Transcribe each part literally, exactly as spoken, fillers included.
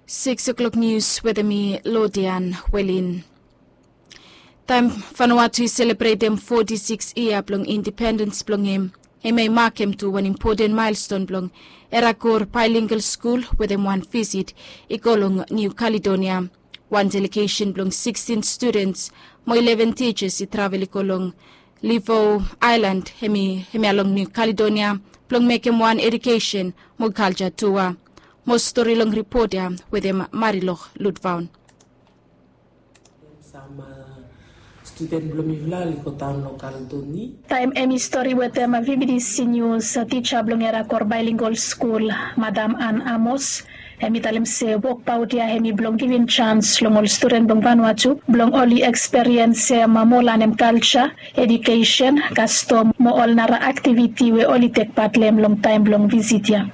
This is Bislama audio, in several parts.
Six o'clock news wetem mi Lodian Welin. Taem Vanuatu i selebretem foti sikis yia blong independens blong hem, hem i makem tu wan impoten maelston blong Erakor Bilingual Skul wetem wan visit i go long Niu Kaledonia. Wan delegesen blong sikstin studens mo ileven tijas i travel i go long Livo Aelan, hem i, hem ya long Niu Kaledonia blong mekem wan edukesen mo kalja tua. Mo stori long ripot ya wetem Marilok Lutvaon. Sam studen blong mifala oli go daon long Kaledoni. Taem hem i stori wetem B B C News, tija blong Erakor Bilingual Skul, Madam Ann Amos, hem i talem se wokbaot ya hem i blong givim jans long ol studen blong Vanuatu blong oli eksperiensem mo lanem kalja, edukesen, kastom mo ol nara aktiviti we oli tek pat long hem long taem blong visit ya.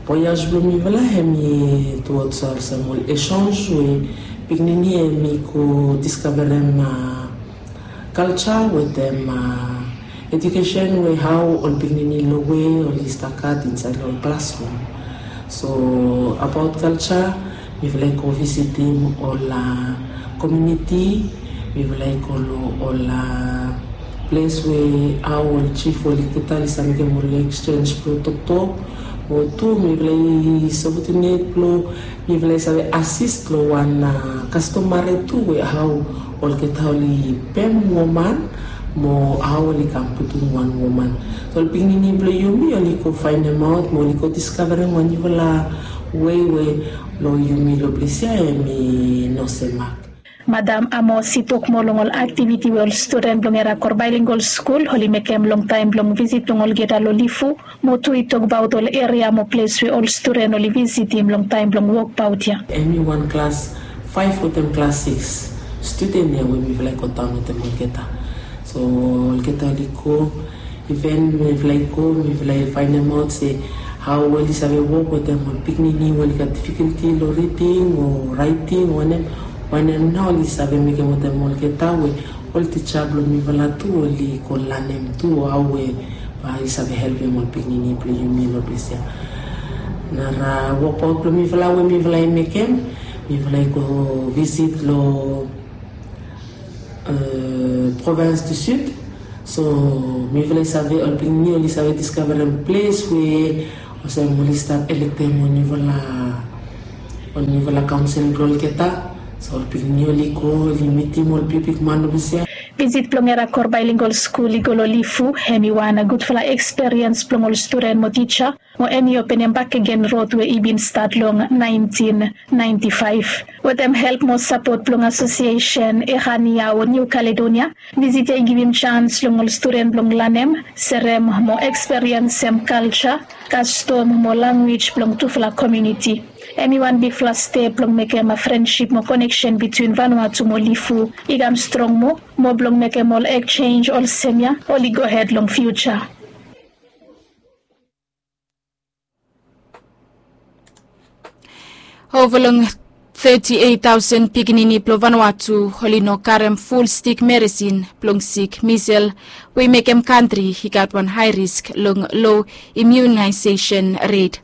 Voyaj blong mifala hem i tuods olsem ol echanj we pikinini hem i go diskavarem kalja wetem edukesen we hao ol pikinini lowe oli stap gat insaed long ol klasrum. So abaot kalja, mifala i go visitim ol komuniti, mifala i go long ol ples we hao ol jif oli geta oli save mekem ol eksenj blong toktok. Mo tu mifala i sapotem nid blong mifala i save asis long wan kastomare tu we hao olgeta oli pem woman mo hao oli kam putum wan woman. So ol pikinini blong yumi oli go faenemaot mo oli go diskavarem wan niufala wei we long yumi long ples ya hem i no semak. Madam Amos i tok moa long ol aktiviti we ol studen blong Erakor Bilingual Skul oli mekem long taem blong visit blong olgeta long Lifu, mo tu i tokbaot ol eria mo ples we ol studen oli visitim long taem blong wokbaot ya. Hem i wan klas faef wetem klas sikis studen ya we mifala i go daon wetem olgeta. So olgeta oli go, iven mifala i go mifala i faenemaot se hao oli save wok wetem ol pikinini we oli gat difikulti long riding o raeting o wanem, wanem nao oli save mekem wetem olgeta we ol tija blong mifala tu oli go lanem tu hao we bae oli save helpem ol pikinini blong yumi long ples ya. Nara wokbaot blong mifala we mifala i mekem, mifala i go visit long Provins du Sud. So mifala i save, ol pikinini oli save diskavarem ples we olsem oli stap elektem ol niufala, ol niufala kaonsel blong olgeta. So ol pikinini oli go oli mitim ol bigbigman long ples ya. Visit blong Erakor Bilingual Skul i go long Lifu hem i wan gudfala eksperiens blong ol studen mo tija, mo hem i openem bakegen rod we i bin stat long naentin naenti faef. Wetem help mo sapot blong asosiesen Erania o Niu Kaledonia, visit ya i givim jans long ol studen blong lanem, serem mo eksperiensem kalja, kastom mo lanwis blong tufala komuniti. Hem i wan bigfala step blong mekem frensip mo koneksen bitwin Vanuatu mo Lifu i kam strong moa, mo blong mekem ol eksenj olsem ya oli gohed long fiuja. Ova long teti eit taosen pikinini blong Vanuatu oli no karem ful stik meresin blong sik misel, we i mekem kantri i gat wan hae risk long lo imiunaesesen ret.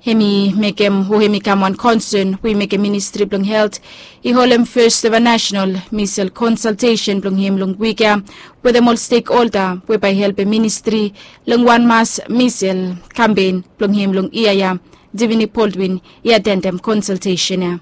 Hem i mekem, o hem i kam wan konsen we i mekem Ministri blong Helt i holem fes eva nasenal misel konsaltesen blong hem long wik ya wetem ol stekholda we bae i helpem ministri long wan mas misel kampen blong hem long yia ya. Divini Baldwin i atendem konsaltesen ya.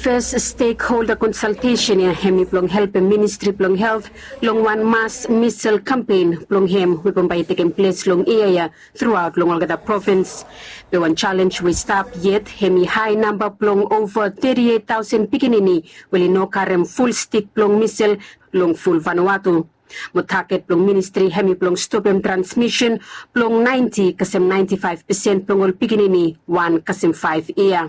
Fes stekholda konsaltesen ya hem i blong helpem Ministri blong Helt long wan mas misel kampen blong hem we bambae i tekem ples long yia ya truaot long olgeta provins. Be wan jalenj we i stap yet hem i hae namba blong ova teti eit taosen pikinini we oli no karem ful stik blong misel long ful Vanuatu. Mo taget blong ministri hem i blong stopem transmisen blong naenti kasem naenti faef pesen blong ol pikinini wan kasem faef yia.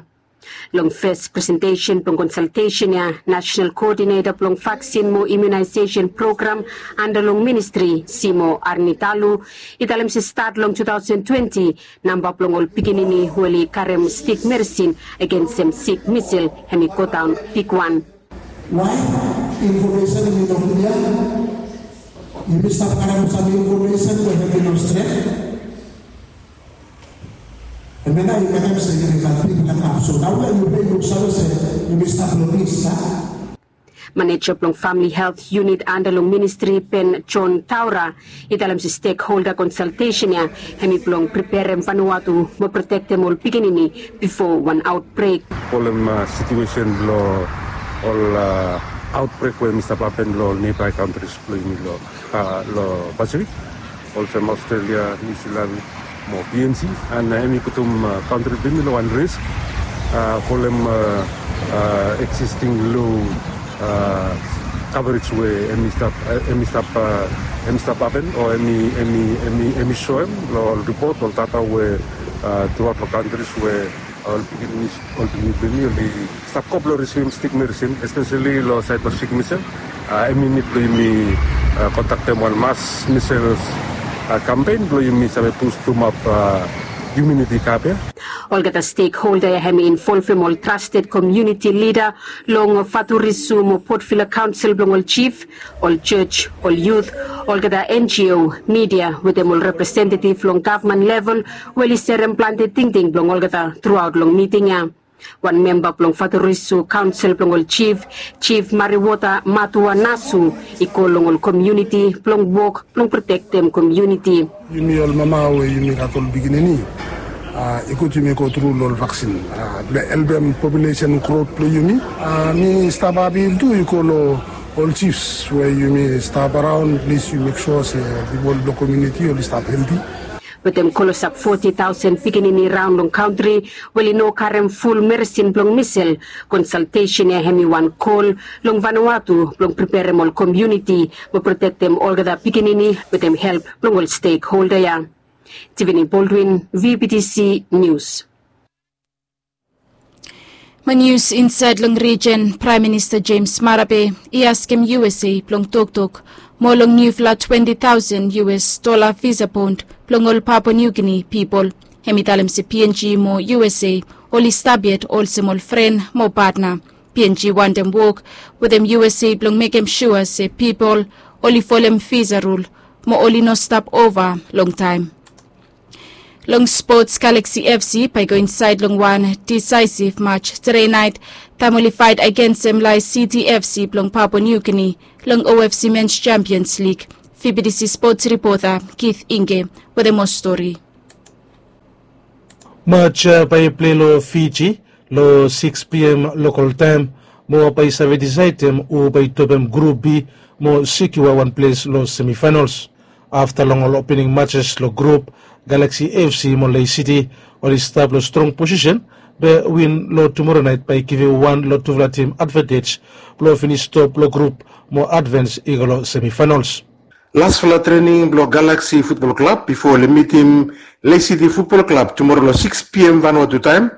Long fes presentesen blong konsaltesen ya, nasenal koodineta blong vaksin mo imiunaesesen program anda long ministri, Simo Arnitalu, i talem se stat long tu taosen twenti, namba blong ol pikinini we oli karem stik meresin agensem sik misel hem i godaon bigwan. Wae infomesen i no klia? Yumi stap karem sam infomesen we hem i no stret. Maneja blong Famili Helt Unit anda long ministri, Ben John Taura, i talem se stekholda konsaltesen ya hemi blong preperem Vanuatu mo protektem ol pikinini bifo wan aotbrek. Folem situesen blong ol aotbrek we hemi stap hapen long ol nebai kantris blong yumi long Pasifik, olsem Australia, Niu Silan mo P N G, and hemi putum kantri blong yumi long wan risk folem existing low coverage we hemi stap hemi stap hemi stap hapen o hemi hemi hemi hemi soem long ol ripot, ol data we truaot long kantris we ol pikinini ol pikinini blong yumi oli stap go blong risivim stik medisin, espeseli long saed blong stik misel. Hemi nid blong yumi kontaktem wan mas misel kampen blong yumi save bustumap imuniti kap ya. Olgeta stekholda ya hemi involvem ol trasted komuniti lida long Faturisu mo Port Vila kaonsel blong ol jif, ol jos, ol yut, olgeta N G O, midia wetem ol representetiv long gavman level we oli serem plante tingting blong olgeta truaot long miting ya. Wan memba blong Faturisu kaonsel blong ol jif, Jif Mariwota Matua Nasu, i kol long ol komuniti blong wok blong protektem komuniti. Yumi ol mama we yumi gat ol pikinini, i gud yumi go tru long ol vaksin blong helpem populesen grot blong yumi. Mi stap apil tu i go long ol jifs we yumi stap araon, plis yu mek sua se pipol blong komuniti oli stap helti. Wetem klosap foti taosen pikinini raon long kantri we oli no karem ful medisin blong misel, konsaltesen ya hemi wan kol long Vanuatu blong preperem ol komuniti mo protektem olgeta pikinini wetem help blong ol stekholda ya. Tiffany Baldwin, V B T C News. Mo nius insaed long rijen, Praem Minista James Marape i askem U S A blong toktok moa long niufala twenti taosen U S dola visa bond blong ol Papua New Guinea pipol. Hemi talem se P N G mo U S A oli stap yet olsem ol fren mo patna. P N G wantem wok wetem U S A blong mekem sua se pipol oli folem visa rul mo oli no stap ova longtaem. Long spots, Galaxy F C bae i go insaed long wan disaesiv maj tude naet taem oli faet agensem Lae City F C blong Papua New Guinea long O F C Men's Champions League. V B T C spots ripota Keith Inge wetem moa stori. Maj ya bae i plei long Fiji long sikis P M lokol taem mo bae i save disaedem hu bae i topem grup B mo sekiua wan ples long semifaenals. Afta long ol opening majes long grup, Galaxy F C mo Lae City oli stap long strong posisen, be win long tumora naet bae i givim wan long tufala tim advantej blong finis top long grup mo advens i go long semifaenals. Lasfala trening blong Galaxy Futbol Klab bifo oli mitim Lae City Futbol Klab tumora long sikis P M Vanuatu taem,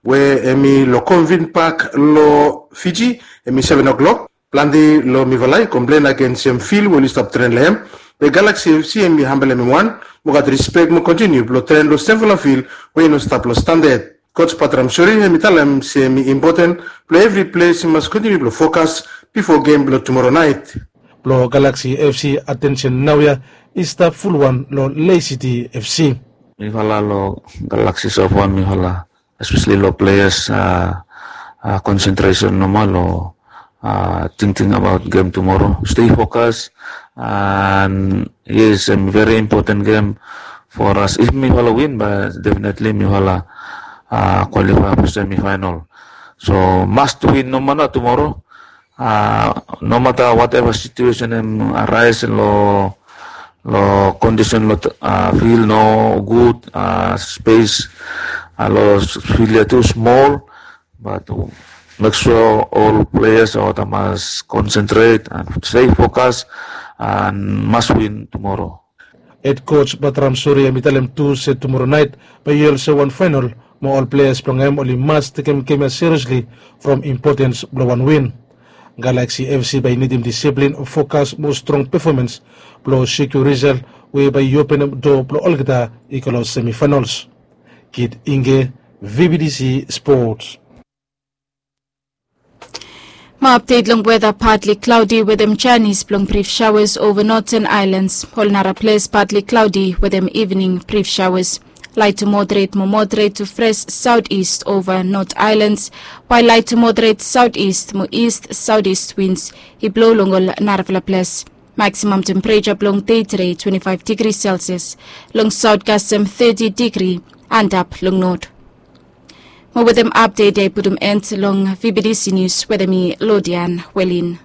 we hemi long Convent Park long Fiji, hemi seven o'clock. Plante long mifala i komplen agensem fil we oli stap tren long hem. Be Galaxy F C hemi hambelem hem wan mo gat rispek mo kontiniu blong tren long semfala fil we i no stap long standad. Koj Batram Suri hemi talem se hemi impoten blong evri ples i mas kontiniu blong fokas bifo gem blong tumora naet. Blong Galaxy F C atensen naoia i stap fulwan long Lae City F C. Mifala long Galaxy sofan mifala, espeseli long pleas, konsentresen nomal long tingting abaot gem tumoro. Stei fokas, and yes, em veri impoten gem for as. If mifala win, bae definetli mifala kwalifae blong semifaenal. So must win nomata tumoro. Nomata wateva situesen em araes long long kondisen long fil no gud, spes long fil ya tu smol, bat mek sua ol pleas olgeta mas konsentret and stei fokas and mas win tumoro. Hed koj Batram Suri hemi talem tu se tumora naet bae i olsem wan faenal mo ol pleas blong hem oli mas tekem gem ya seriesli from impotens blong wan win. Galaxy F C bae i nidim disiplin, fokas mo strong pefomans blong sekiua risal we bae i openem doa blong olgeta i go long semifaenals. Kid Inge, V B T C Sports. Mo apdet long weta, partly cloudy wetem janis blong brif shaoas ova noten aelans. Ol nara ples partly cloudy wetem ivening brif shaoas. Light to moderate mo moderate to fresh southeast over North Islands, while light to moderate southeast mo east southeast winds i blow long ol narafala ples. Maximum temperature blong day today twenty-five degrees Celsius, long south custom thirty degree, and up long north. Mo with them update day put them end long V B D C news with me Lodian Welin.